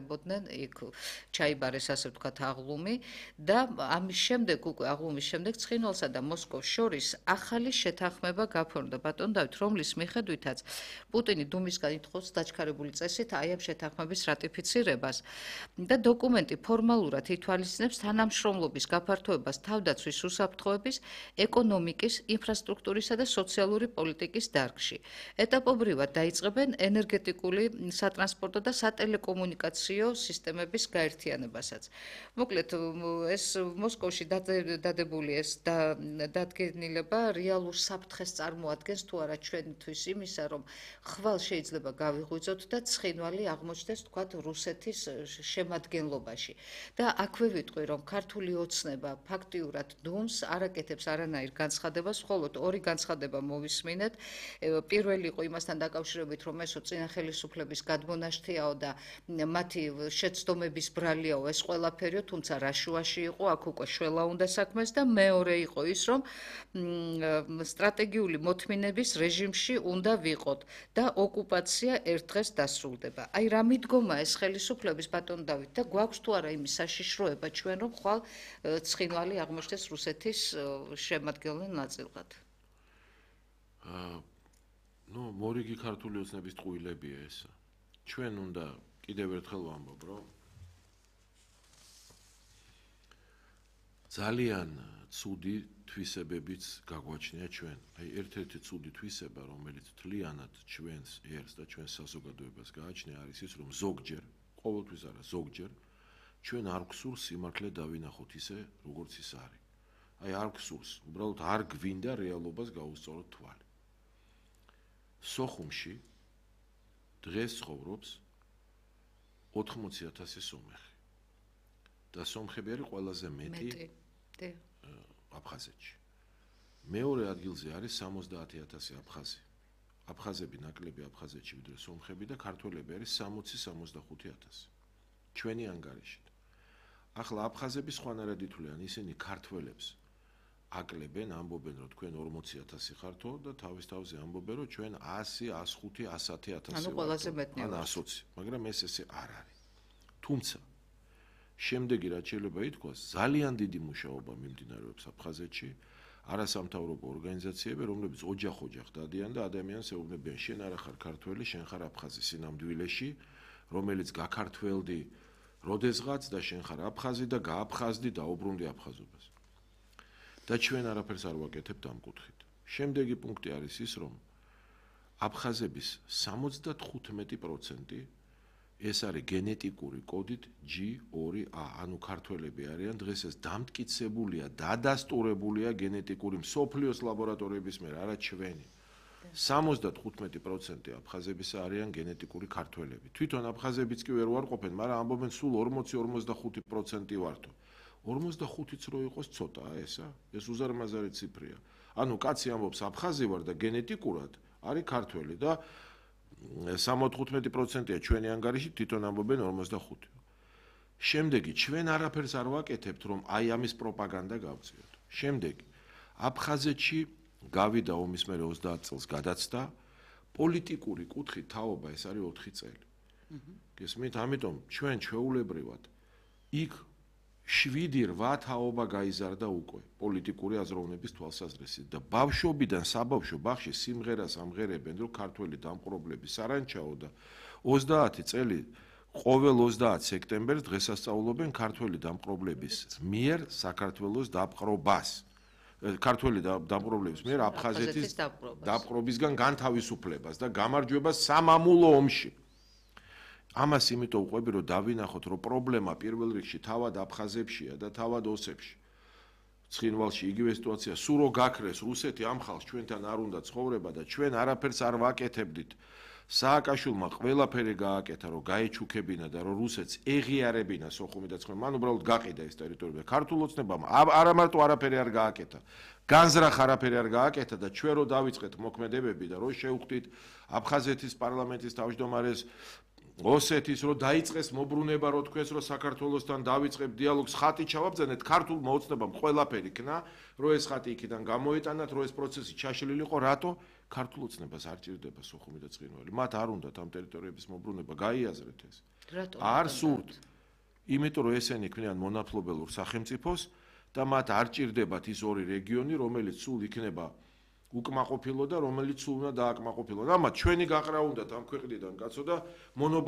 ემყარებოდნენ, იქ ჩაიბარეს ასე ვთქვათ აღლუმი და ამის შემდეგ უკვე აღლუმის შემდეგ ცხინვალსა და მოსკოვს შორის ახალი შეთანხმება გაფორმდა ბატონ დავით, რომლის მიხედვითაც პუტინი დუმისგან ითხოვს დაჩქარებული წესით აი ამ შეთანხმების რატიფიცირებას და დოკუმენტი ფორმალურად ითვალისწინებს თანამშრომლობის გაფართოებას თავდაცვის უსაფრთხოების, ეკონომიკის, ინფრასტრუქტურისა და სოციალური პოლიტიკის დარგში. ეტაპობრივად დაიწყებენ ენერგეტიკული, სატრანსპორტო და სატელეკომუნიკაციო სისტემების გაერთიანებასაც. მოკლედ, ეს მოსკოვში დადებული ეს დადგენილება რეალურ საფრთხეს წარმოადგენს თუ არა ჩვენთვის იმისა, რომ ხვალ შეიძლება გავიღვიძოთ და ცხინვალი აღმოჩნდეს თქვათ რუსეთის შემადგენლობაში. და აქვე ვიტყვი, რომ ქართული ოცნება ფაქტიურად დუმს არ აკეთებს არანაირ განცხადებას, მხოლოდ ორი განცხადება მოვისმინეთ. პირველი იყო იმასთან დაკავშირებით, რომ ესო წინა ხელისუფლების გადმონაშთიაო და მათი შეცდომების ბრალიაო ეს ყველაფერიო, თუმცა რა შუაში იყო, აქ უკვე შველა უნდა საქმეს და მეორე იყო ის, რომ სტრატეგიული მოთმინების რეჟიმში უნდა ვიყოთ და ოკუპაცია ერთ დღეს დასრულდება. აი რა მიდგომა ეს ხელისუფლების ბატონ დავით და გვაქვს თუ არა იმის საშიშროება ჩვენ რომ ხვალ ცხინვალი აღმოჩნდეს რუსეთის შემადგენელ ნაწილად. მორიგი ქართული ოცნების ტყუილებია ეს. ჩვენ უნდა კიდევ ერთხელ ვამბობ, რომ ძალიან ცუდი თვისებებიც გაგვაჩნია ჩვენ. აი ერთ-ერთი ცუდი თვისება, რომელიც თლიანად ჩვენს ერს და ჩვენს საზოგადოებას გააჩნია, არის ის, რომ ზოგჯერ, ყოველთვის არა, ზოგჯერ ჩვენ არ გვსურს სიმართლე დავინახოთ ისე, როგორც ის არის. აი არ გვსურს, უბრალოდ არ გვინდა რეალობას გაუსწოროთ თვალი. სოხუმში დღეს ცხოვრობს 80,000 სომეხი. და სომხები არის ყველაზე მეტი აფხაზეთში. მეორე ადგილზე არის 70,000 აფხაზი. აფხაზები ნაკლები აფხაზეთში ვიდრე სომხები და ქართველები არის 60-65,000. ჩვენი ანგარიშით. ახლა აფხაზები სხვანაირად ითვლიან, ისინი ქართველებს აკლებენ, ამბობენ, რომ თქვენ 40,000 ხართო და თავის თავზე ამბობენ, რომ ჩვენ 100, 105, 110,000 ანუ ყველაზე მეტნი ან 120, მაგრამ ეს ესე არ არის. თუმცა შემდეგი რაც შეიძლება ითქვას, ძალიან დიდი მუშაობა მიმდინარეობს აფხაზეთში, არასამთავრობო ორგანიზაციები, რომლებიც ოჯახ-ოჯახ დადიან და ადამიანს ეუბნებიან, შენ არა ხარ ქართველი, შენ ხარ აფხაზი სინამდვილეში, რომელიც გაქართველდი როდესღაც და შენ ხარ აფხაზი და გააფხაზდი და დაუბრუნდი აფხაზობას. და ჩვენ არაფერს არ ვაკეთებთ ამ კუთხით. შემდეგი პუნქტი არის ის, რომ აფხაზების 75% ეს არის გენეტიკური კოდით G2A, ანუ ქართველები არიან, დღეს ეს დამტკიცებულია, დადასტურებულია გენეტიკური მსოფლიოს ლაბორატორიების მიერ, არა ჩვენი. 75% აფხაზებისა არიან გენეტიკური ქართველები. თვითონ აფხაზებიც კი ვერ ვარყოფენ, მაგრამ ამბობენ სულ 40-45% ვართო. 45-იც რო იყოს ცოტაა ესა, ეს უზარმაზარი ციფრია. ანუ კაცი ამბობს აფხაზი ვარ და გენეტიკურად არის ქართველი და 75%-ია ჩვენი ანგარიში, თვითონ ამბობენ 45. შემდეგი, ჩვენ არაფერს არ ვაკეთებთ, რომ აი ამის პროპაგანდა გავწიოთ. შემდეგი, აფხაზეთში გავიდა ომის მერე 30 წელს გადაცდა, პოლიტიკური კუთხით თაობა ეს არის 4 წელი. გესმით, ამიტომ ჩვენ ჩვეულებრივად იქ 7-8 თაობა გაიზარდა უკვე პოლიტიკური აზროვნების თვალსაზრისით და ბავშვობიდან საბავშვო ბაღში სიმღერას ამღერებენ, რომ ქართველი დამპყრობლები სარანჩაო და 30 წელი ყოველ 30 სექტემბერს დღესასწაულობენ ქართველი დამპყრობლების მიერ საქართველოს დაპყრობას. ქართველი დამპყრობლების მიერ აფხაზეთის დაპყრობისგან განთავისუფლებას და გამარჯვებას სამამულო ომში. ამას იმიტომ ვყვები, რომ დავინახოთ, რომ პრობლემა პირველ რიგში თავად აფხაზებშია და თავად ოსებში. ცხინვალში იგივე სიტუაცია, სულ რო გაქრეს რუსეთი ამ ხალხს ჩვენთან არ უნდა ცხოვრება და ჩვენ არაფერს არ ვაკეთებდით. სააკაშვილმა ყველაფერი გააკეთა, რომ გაეჩუქებინა და რომ რუსეთს ეღიარებინა სოხუმი და ცხინვალი, მან უბრალოდ გაყიდა ეს ტერიტორია. ქართულ ოცნებამ არა მარტო არაფერი არ გააკეთა, განზრახ არაფერი არ გააკეთა და ჩვენ რო დავიწყეთ მოქმედებები და რო შევხვდით აფხაზეთის პარლამენტის თავმჯდომარეს ოსეთის რო დაიწყეს მოbrunება რო თქვენს რო საქართველოსთან დავიწყებ დიალოგს ხატი ჩავაბრძანეთ ქართულმა ოცნებამ ყველაფერი ქნა რო ეს ხატი იქიდან გამოეტანათ რო ეს პროცესი ჩაშლილიყო რატო ქართულ ოცნებას არ ჭირდება სოხუმი და ცხინველი. მათ არ უნდათ ამ ტერიტორიების მობრუნება, გაიაზრეთ ეს. არ სურთ. იმიტომ რომ ესენი ქმნიან მონაპლობელურ სახელმწიფოს და მათ არ ჭირდებათ ის ორი რეგიონი, რომელიც სულ იქნება უკმაყოფილო და რომელიც სულ უნდა დააკმაყოფილო. ამათ ჩვენი გაყრა უნდათ ამ ქვეყნიდან, კაცო და